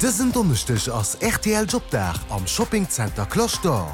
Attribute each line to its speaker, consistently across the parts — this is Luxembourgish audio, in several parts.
Speaker 1: Dësen Donneschdeg ass rtl Jobdag am Shopping Center Cloche d'Or.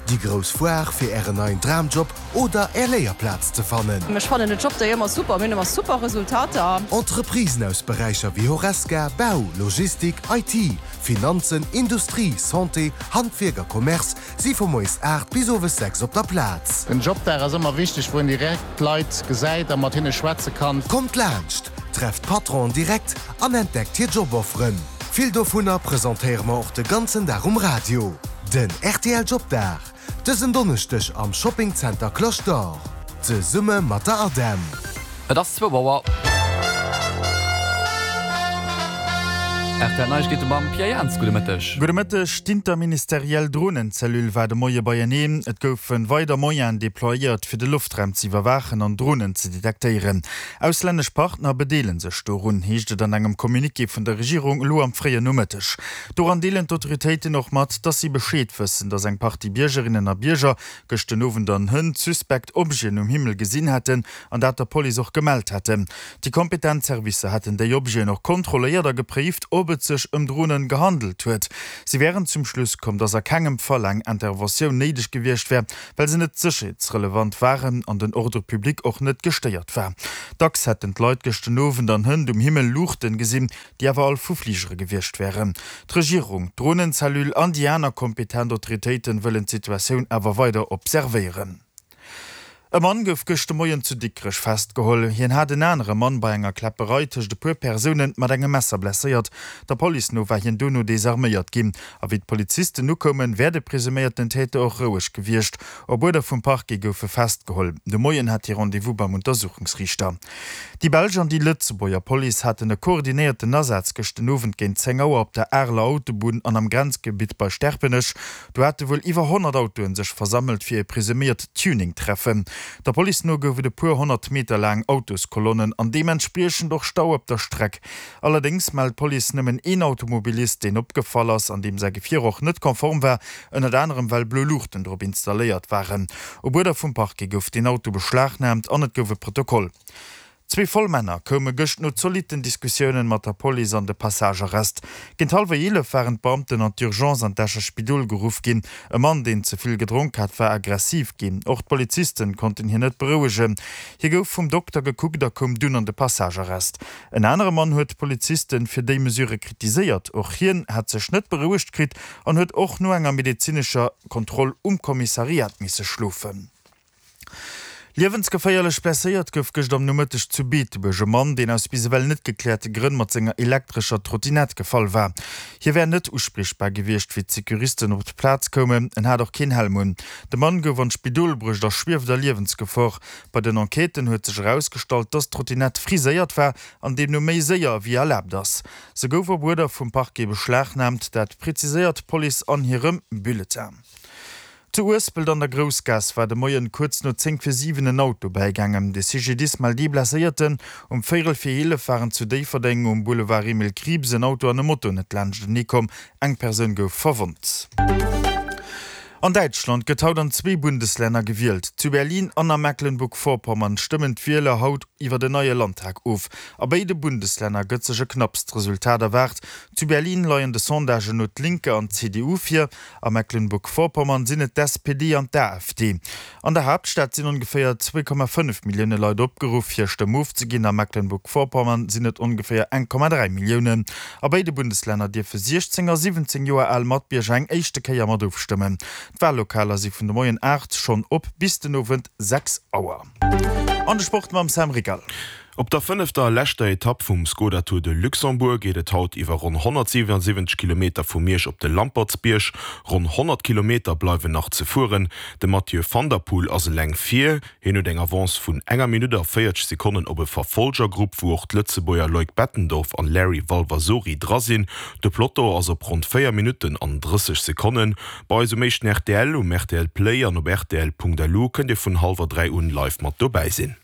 Speaker 1: Déi grouss Foire fir ären neien Dramjob oder är Léierplaz ze fannen.
Speaker 2: Ech fannen den Jobday ëmmer super, mir hunn ëmmer super Resultater.
Speaker 1: Entreprisen aus Beräicher wéi Horesca, Bau, Logistik, IT, Finanzen, Industrie, Santé, Handwierk a Commerce si vu moies 8 bis owes 6 op der Plaz.
Speaker 3: Den Jobdag ass ëmmer wichteg, wou een direkt d'Leit gesäit a mat hinne schwätze kann.
Speaker 1: Kommt laanscht, trefft d'Patronen direkt an entdeckt hir Jobofferen. Vill dovunner presentéiere mer och de ganzen Dag um Radio. Den rtl Jobdag, dësen Donneschdeg am Shopping Center Cloche d'Or, zesumme mat der ADEM.
Speaker 4: Et ass zwou Auer. Rtl Neiegkeete mam Pierre Jans. Gudde Mëtteg.
Speaker 5: Gudde Mëtteg. D'Interministeriell Dronencellule war de Moie beieneen. Et goufe weider Moyenen deployéiert, fir de Loftraum ze iwwerwaachen an Dronen ze detektéieren. Auslännesch Partner bedeele sech dorun, heescht et an engem Communiqué vun der Regierung elo am fréien Nomëtteg. Doran deelen d'Autoritéiten och mat, datt si Bescheed wëssen, datt eng Partie Biergerinnen a Bierger gëscht den Owend an hënt suspekt Objeten um Himmel gesinn hätten an dat der Police och gemellt hätten. Déi kompetent Servicer hätten déi Objeten och kontrolléiert a gepréift, ob et sech ëm Dronen gehandelt huet. Si wären zum Schluss komm, datt a kengem Fall eng Interventioun néideg gewiescht wär, well se net sécherheetsrelevant waren an den Ordre public och net gestéiert war. Dacks hätten d'Leit gëscht den Owend an hënt um Himmel Luuchten gesinn, déi awer all vu Fligere gewiescht wären. D'Regierung, d'Dronencellule an déi aner kompetent Autoritéiten wëllen d'Situatioun awer weider observéieren. E Mann gouf gëscht de Moien zu Dikrech festgeholl. Hien hat en anere Mann bei enger Kläpperei tëscht e puer Persoune mat engem Messer blesséiert. Der Police no war hien dono desarméiert ginn. A wéi d'Polizisten ukoumen, wär de presuméierten Täter och roueg gewiescht. Op Uerder vum Parquet gouf e festgeholl. De Moien hat hie Rendez-vous beim Untersuchungsriichter. Déi belsch an déi Lëtzebuerger Police haten e koordinéierten Asaz gëscht den Owend géint 10 Auer op der Areler Autobunn an am Grenzgebitt bei Sterpenech. Do hate wuel iwwer 100 Autoen sech versammelt fir e presuméiert Tuning-Treffen. Der Police no gouf et e puer 100 Meter laang Autoskolonnen an deementspriechend och Stau op der Streck. Allerdéngs mellt d'Police nëmmen een Automobilist, deen opgefall ass an deem säi Gefier och net konform war, ënnert anerem well blo Luuchten drop installéiert waren. Op Uerder vum Parquet gouf deen Auto beschlagnaamt an et gouf e Protokoll. Zwee voll Männer koume gëscht no zolitten Diskussiounen mat der Police an de Passagearrest. Géint hallwer 11 waren d'Beamten an d'Urgence an d'Escher Spidol geruff ginn. E Mann, deen ze vill gedronk hat, war aggressiv ginn. Och d'Polizisten konnten hien net berouegen. Hie gouf vum Dokter gekuckt a koum dunn an de Passagearrest. En anere Mann huet d'Polizisten fir déi Mesure kritiséiert. Och hien hätt sech net berouegt kritt an huet och no enger medezinescher Kontroll um Kommissariat misse schlofen. Liewensgeféierlech blesséiert gouf gëscht am Nomëtteg zu Beetebuerg e Mann, deen aus bis ewell net gekläerte Grënn mat senger elektrescher Trottinett gefall war. Hie wär net uspriechbar gewiescht, wéi d'Securisten op d'Plaz koumen. En hat och keen Helm un. De Mann gouf an d'Spidol bruecht a schwieft a Liewensgefor. Bei den Enquêten huet sech erausgestallt, dass d'Trottinett friséiert war an deemno méi séier wéi erlaabt ass. Se gouf op Uerder vum Parquet beschlagnaamt, dat preziséiert d'Police an hirem Bulletin. Zu Uespelt an der Groussgaass war de Moien kuerz no 10 vir 7 en Auto bäigaangen. De CGDIS mellt ee Blesséierten. Um véierel vir 11 waren zu Déifferdeng um Boulevard Emile Krieps en Auto an e Moto net laanschtenee komm. Eng Persoun gouf verwonnt. An Däitschland gëtt haut an zwee Bundeslänner gewielt. Zu Berlin an a Mecklenburg-Vorpommern stëmmen d'Wieler haut iwwer en neie Landtag of. A béide Bundeslänner gëtt sech e knappst Resultat erwaart. Zu Berlin leien de Sondagen no d'Linke an d'CDU vir. A Mecklenburg-Vorpommern sinn et d'SPD an d'AfD. An der Haaptstad sinn ongeféier 2,5 Millioune Leit opgeruff, hir Stëmm ofzeginn. A Mecklenburg-Vorpommern sinn et ongeféier 1,3 Milliounen. A béide Bundeslänner dierfe 16 a 17 Joer al Matbierger eng éischte Kéier mat ofstëmmen. D'Wallokaler si vun de Moien 8 schonn op bis den Owend 6 Auer. An de Sport mam Sam Rickal.
Speaker 6: Op der fënnefter a leschter Etapp vum Skoda Tour de Luxembourg geet et haut iwwer ronn 177 Kilometer vu Miersch op de Lampertsbierg. Ronn 100 Kilometer bleiwen nach ze fueren. De Mathieu van der Poel ass eleng vir. Hien huet eng Avance vun enger Minutt a 40 Sekonnen op e Verfolgergrupp, wou och d'Lëtzebuerger Loïc Bettendorf an Larry Valvasori dra sinn. De Peloton ass op ronn 4 Minutten an 30 Sekonnen. Bei eis um éischten rtl, um rtl Play an op rtl.lu kënnt Dir vun hallwer 3 un live mat dobäi sinn.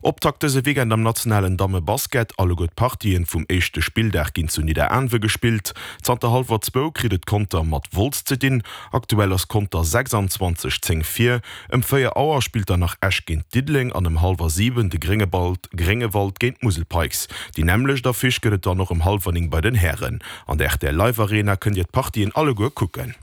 Speaker 6: Optakt dëse Weekend am nationalen Damme-Basket. Alleguer d'Partien vum éischte Spilldag ginn zu Nidderaanwe gespillt. Zanter hallwer zwou kritt et Conter mat Wolz ze dinn. Aktuell ass Conter 26, 10 vir. Ëm 4 Auer spillt dann nach Esch géint Diddeleng an ëm hallwer 7 de Gréngewald géint d'Musel Pikes. Déi nämmlecht Affiche gëtt et dann och ëm hallwer 9 bei den Hären. An der rtl Live Arena kënnt Dir d'Partien alleguer kucken.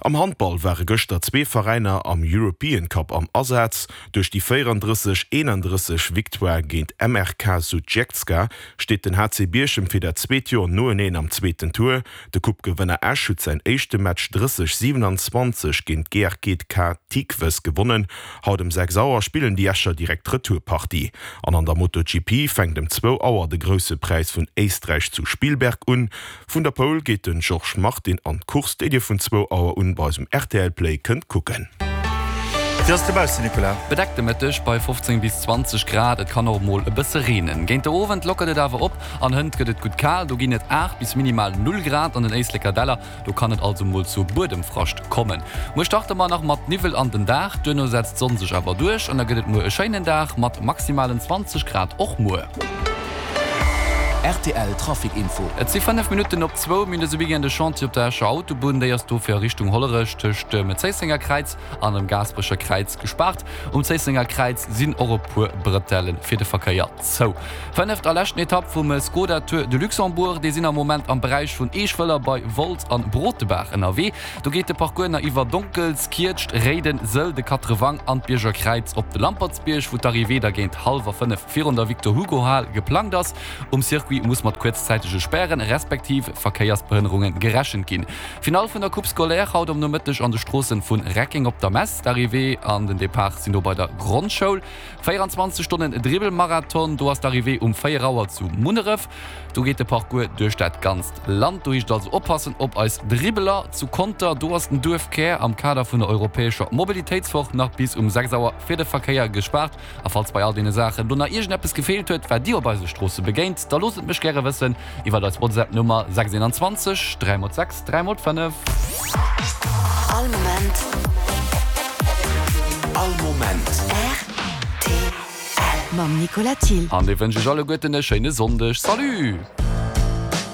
Speaker 6: Am Handball ware gëschter zwee Veräiner am European Cup am Asaz. Duerch déi 34, 31 Victoire géint MRK Sutjeska steet den HC Bierchem fir dat zweet Joer noeneen am zweeten Tour. De Coupe-Gewënner Esch huet säin éischte Match 30, 27 géint d'GRGK Tikves gewonnen. Haut ëm 6 Auer spillen déi Escher direkt d'Retourpartie. An an der MotoGP fänkt ëm zwou Auer de Grousse Präis vun Éisträich zu Spielberg un. Vun der Pole geet den Georges Martin an d'Course, déi dir vun zwou Auer un bei eis um rtl Play kënnt kucken.
Speaker 5: Wéi ass et dobaussen, Nicolas?
Speaker 4: Bedeckt de Mëtteg bei 15 bis 20 Grad, et kann och mol e bësse reenen. Géint de Owend lockert et awer op an hënt gëtt et gutt kal, do ginn et 8 bis minimal 0 Grad an den Éisleker Däller. Do kann et also mol zu Buedemfrascht kommen. Muer starte mer nach mat Niwwel an den Dag, duerno setzt d'Sonn sech awer duerch an da gëtt et muer e schéinen Dag mat maximalen 20 Grad och muer.
Speaker 7: Rtl Trafic Info.
Speaker 4: Et si 5 Minutten op zwou. Mir hunn dëse Weekend e Chantier op der Escher Autobunn. Déi ass dofir a Richtung Hollerech tëscht dem Zéissenger Kräiz an dem Gaasperecher Kräiz gespaart. Um Zéissenger Kräiz sinn och e puer Brëtelle fir de Verkéier zou. Fënneft a leschten Etapp vum Skoda Tour de Luxembourg. Déi sinn am Moment am Beräich vun Eeschwëller bei Wolz an Brotebaach ënnerwee. Do geet de Parcours nach iwwer Donkels, Kietscht, Réiden, Sëll, de Quatrewang an d'Bierger Kräiz op de Lampertsbierg, wou d'Arrivée da géint hallwer 5 virun der Victor Hugo Hal geplangt ass. Um Circuit muss mat kuerzzäitege Spären, respektiv Verkéiersbehënnerunge gerechent ginn. Finall vun der Coupe scolaire haut am Nomëtteg an de Stroossen vun Reckeng op der Mess. D'Arrivée an den Depart sinn do bei der Grondschoul. 24 Stonnen Dribbelmarathon, do ass d'Arrivée um 4 Auer zu Munneref. Do geet de Parcours duerch dat ganzt Land. Do heescht et also oppassen op eis Dribbeler. Zu Conter, do ass den Duerfkär am Kader vun der europäescher Mobilitéitswoch nach bis um 6 Auer fir de Verkéier gespaart. A falls bei all deene Saachen do nach iergendeppes gefeelt huet, wat dir op eise Stroosse begéint, da loosst et mech gäre wëssen iwwert eis WhatsApp-Nummer 621 3 x 6 3 x 5.
Speaker 7: All Moment. All Moment.
Speaker 8: Rtl. Mam Nicolas Thill.
Speaker 4: An dee wënsch ech alleguerten e schéine Sonndeg. Salut!